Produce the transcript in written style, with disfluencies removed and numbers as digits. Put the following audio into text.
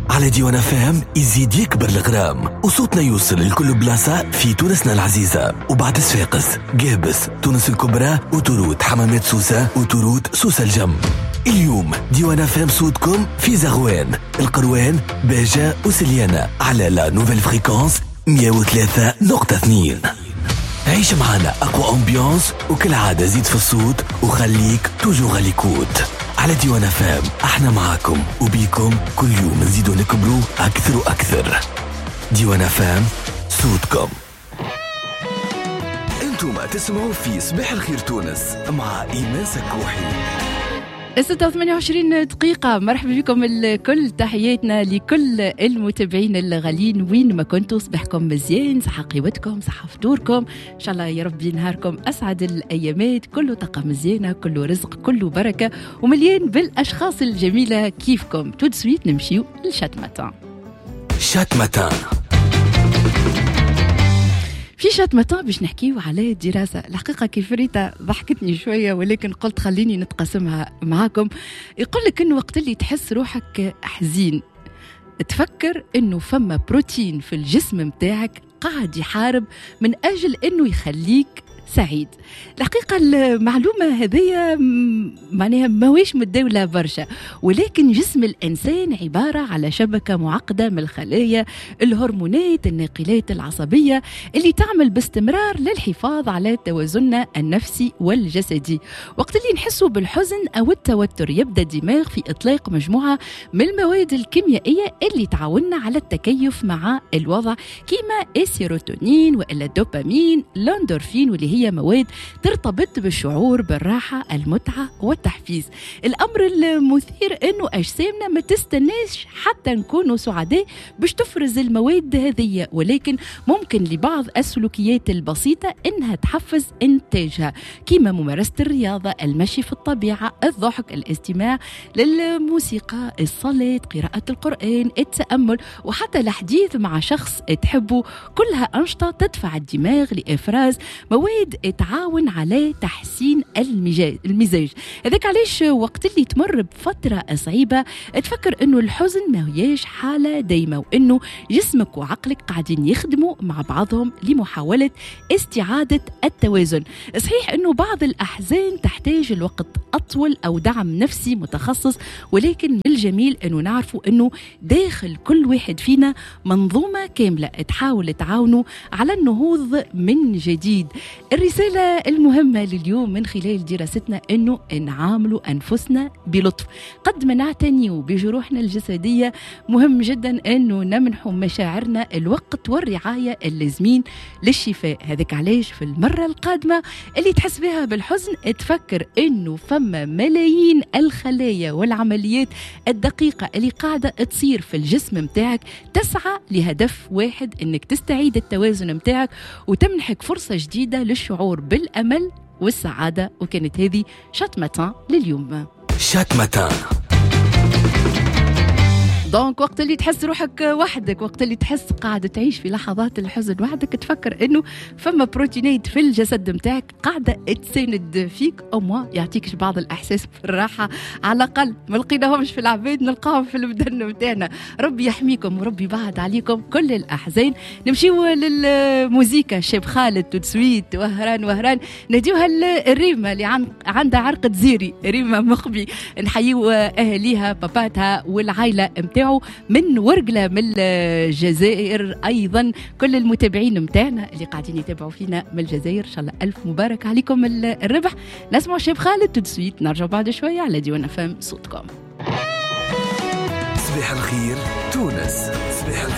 على ديوان FM يزيد يكبر الغرام وصوتنا يوصل لكل بلاصة في تونسنا العزيزة، وبعد صفاقس، قابس، تونس الكبرى، autoroute حمامات سوسة، autoroute سوسة الجم. اليوم ديوان FM صوتكم في زغوان، القروان، باجة وسليانة على la nouvelle fréquence 103.2. عيش معنا أقوى ambiance، وكالعادة زيد في الصوت وخليك toujours à l'écoute على ديوان FM. احنا معاكم وبيكم كل يوم نزيدوا نكبروا أكثر وأكثر. ديوان FM صوتكم. انتم تسمعوا في صباح الخير تونس مع إيمان سكوحي. 6:28 دقيقة. مرحبا بكم الكل، تحياتنا لكل المتابعين الغاليين وين ما كنتوا. صباحكم مزيان، صحة قيوتكم، صحة فطوركم، إن شاء الله يا ربي نهاركم أسعد الأيامات، كله طاقة مزيانة، كله رزق، كله بركة، ومليان بالأشخاص الجميلة كيفكم. tout de suite نمشيو ل Chat Matin. Chat Matin. في Chat Matin باش نحكيو على الدراسة. الحقيقة كيف ريتا ضحكتني شوية، ولكن قلت خليني نتقاسمها معاكم. يقول لك انه وقت اللي تحس روحك حزين تفكر انه فما بروتين في الجسم متاعك قاعد يحارب من اجل انه يخليك سعيد. الحقيقة المعلومة هذه معناها ماهيش متداولة برشا، ولكن جسم الإنسان عبارة على شبكة معقدة من الخلايا، الهرمونات، الناقلات العصبية اللي تعمل باستمرار للحفاظ على توازننا النفسي والجسدي. وقت اللي نحسوا بالحزن أو التوتر يبدأ الدماغ في إطلاق مجموعة من المواد الكيميائية اللي تعاوننا على التكيف مع الوضع، كيما السيروتونين وإلا الدوبامين، الاندورفين، واللي هي مواد ترتبط بالشعور بالراحة، المتعة والتحفيز. الأمر المثير أنه أجسامنا ما تستناش حتى نكونوا سعداء باش تفرز المواد هذه، ولكن ممكن لبعض السلوكيات البسيطة أنها تحفز إنتاجها، كما ممارسة الرياضة، المشي في الطبيعة، الضحك، الاستماع للموسيقى، الصلاة، قراءة القرآن، التأمل، وحتى الحديث مع شخص تحبه. كلها أنشطة تدفع الدماغ لإفراز مواد تعاون على تحسين المزاج. هذاك علاش وقت اللي تمر بفترة صعيبة تفكر انه الحزن ما هياش حالة دايمة، وانه جسمك وعقلك قاعدين يخدموا مع بعضهم لمحاولة استعادة التوازن. صحيح انه بعض الأحزان تحتاج الوقت أطول أو دعم نفسي متخصص، ولكن من الجميل انه نعرفوا انه داخل كل واحد فينا منظومة كاملة تحاول تعاونه على النهوض من جديد. الرسالة المهمة لليوم من خلال دراستنا أنه نعاملوا أنفسنا بلطف قد ما نعتني بجروحنا الجسدية. مهم جدا أنه نمنح مشاعرنا الوقت والرعاية اللازمين للشفاء. هذاك علاش في المرة القادمة اللي تحس بها بالحزن تفكر أنه فما ملايين الخلايا والعمليات الدقيقة اللي قاعدة تصير في الجسم متاعك تسعى لهدف واحد، أنك تستعيد التوازن متاعك وتمنحك فرصة جديدة للشعور بالأمل والسعادة. وكانت هذه Chat Matin لليوم. Chat Matin. donc وقت اللي تحس روحك وحدك، وقت اللي تحس قاعدة تعيش في لحظات الحزن وحدك، تفكر انه فما بروتينات في الجسد متاعك قاعدة تساند فيك، au moins يعطيك بعض الاحساس بالراحة، على الاقل ما لقيناهمش في العباد نلقاهم في البدن متاعنا. ربي يحميكم وربي يبعد عليكم كل الاحزان. نمشيو للموزيكا، شاب خالد tout de suite، وهران وهران، نهديوها الريمة اللي عندها عرق تزيري، ريمة مخبي، نحييو اهاليها، باباتها والعائلة متاعها من ورقلة من الجزائر. أيضا كل المتابعين متاعنا اللي قاعدين يتابعوا فينا من الجزائر، إن شاء الله ألف مبارك عليكم الربح. نسمع شيب خالد tout de suite، نرجع بعد شوية على ديوان FM صوتكم. صباح الخير تونس، صباح الخير.